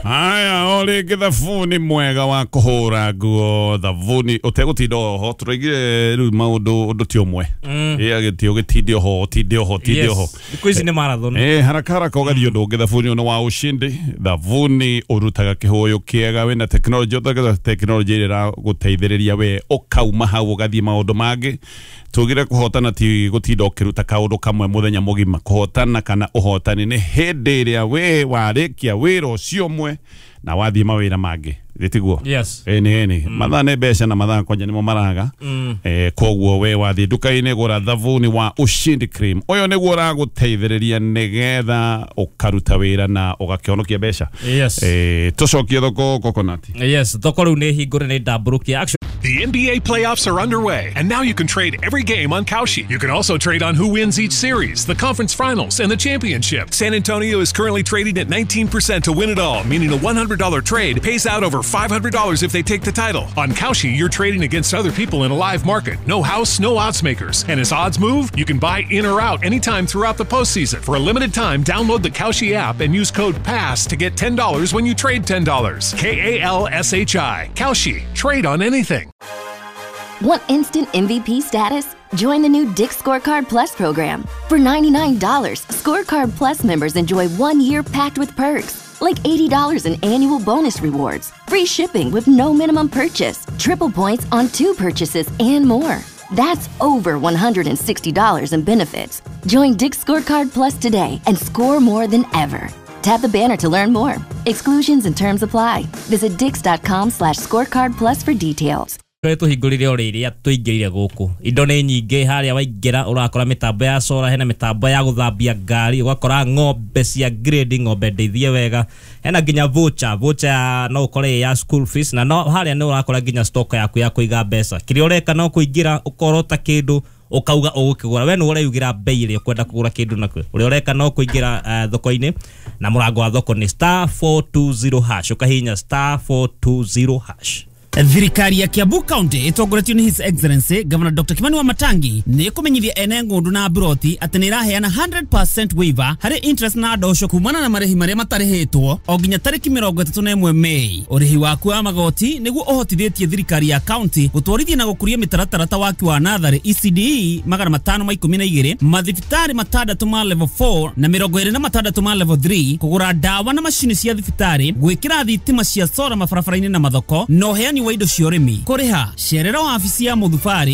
Haya, o rĩngĩ thabuni mwega wa kũhũra nguo, thabuni ũtegũtinda oho. Tũraigire rĩu maũndũ ũndũ ti ũmwe, ĩ agĩtio ũgĩtinde oho, ũtinde oho, ũtinde oho. Thikũ ici nĩ marathon. Eh, haraka haraka ũgathiĩ ũndũ ũngĩ. Thabuni ũyũ nĩ wa ushindi, thabuni ũrutaga kĩhũyũ kĩega, wĩna tekinoronjĩ, ũtagĩra tekinoronjĩ ĩrĩa ĩragũteithĩrĩria we ũkauma hau ũgathiĩ maũndũ mangĩ. Tugire kũhotana ti gũtinda ũkĩruta kaũndũ kamwe mũthenya mũgima. Kũhotana kana ũhotani nĩ hĩndĩ ĩrĩa we warĩkia wĩra ũcio ũmwe na wathiĩ mawĩra mangĩ, gĩtiguo? Yes. Ĩni ĩni, mathaa nĩ mbeca na mathaa kwanja nĩmo maraga. Koguo we wathiĩ nduka-inĩ, gũra thabuni wa Ushindi Cream. Ũyũ nĩguo ũragũteithĩrĩria nĩgetha ũkaruta wĩra na ũgakĩhonokia mbeca. Tũcokie thoko, Coconut. Yes, thoko rĩu nĩ hingũre, nĩ ndambũrũkia. The NBA playoffs are underway, and now you can trade every game on Kalshi. You can also trade on who wins each series, the conference finals, and the championship. San Antonio is currently trading at 19% to win it all, meaning a $100 trade pays out over $500 if they take the title. On Kalshi, you're trading against other people in a live market. No house, no odds makers. And as odds move, you can buy in or out anytime throughout the postseason. For a limited time, download the Kalshi app and use code PASS to get $10 when you trade $10. Kalshi. Kalshi. Trade on anything. Want instant MVP status? Join the new Dick's Scorecard Plus program. For $99, Scorecard Plus members enjoy 1 year packed with perks, like $80 in annual bonus rewards, free shipping with no minimum purchase, triple points on two purchases, and more. That's over $160 in benefits. Join Dick's Scorecard Plus today and score more than ever. Tap the banner to learn more. Exclusions and terms apply. Visit dicks.com/scorecard plus for details. Tũrĩa tũhingũrire o rĩrĩa tũingĩrire gũkũ, indo nĩ nyingĩ. Harĩa waingĩra ũrakora mĩtambo ya solar, hena mĩtambo ya gũthambia ngari, ũgakora ng'ombe cia grade, ng'ombe ndeithie wega, hena nginya voucher ya no ũkore ĩ ya school fees, na no harĩa nĩ ũrakora nginya stock yaku ya kũiga mbeca. Kĩrĩa ũreka no kũingĩra, ũkorota kĩndũ, ũkauga ũgũkĩgũra. We nĩ ũreyugĩra bei ĩrĩa ũkwenda kũgũra kĩndũ nakĩo. Ũrĩa ũreka no kũingĩra thoko-inĩ, na mũrango wa thoko nĩ *420#, ũkahihinya *420#. Thirikari ya Kiambu County ĩtongoretio nĩ His Excellency Governor Dr. Kimani Wamatangi nĩ ĩkũmenyithia ene ng'ũndũ na mburoti atĩ nĩ ĩraheana 100% waiver harĩ interest na ndosho kumana na marĩhi marĩa matarĩhĩtwo o nginya tarĩki 31 Mei. Ũrĩhi waku wa magoti nĩguo ũhotithĩtie thirikari ya county gũtwarithia na gũkũria mĩtaratara ta waki wa natharĩ ECDE 512, mathibitarĩ matandatũ ma level 4 na 26 ma level 3, kũgũra ndawa na macini cia thibitarĩ, gwĩkĩra thitima cia solar mabarabara-inĩ na mathoko, na ũheani wa indo cia ũrĩmi. Kũrĩha, cerera wabici ya mũthubarĩ.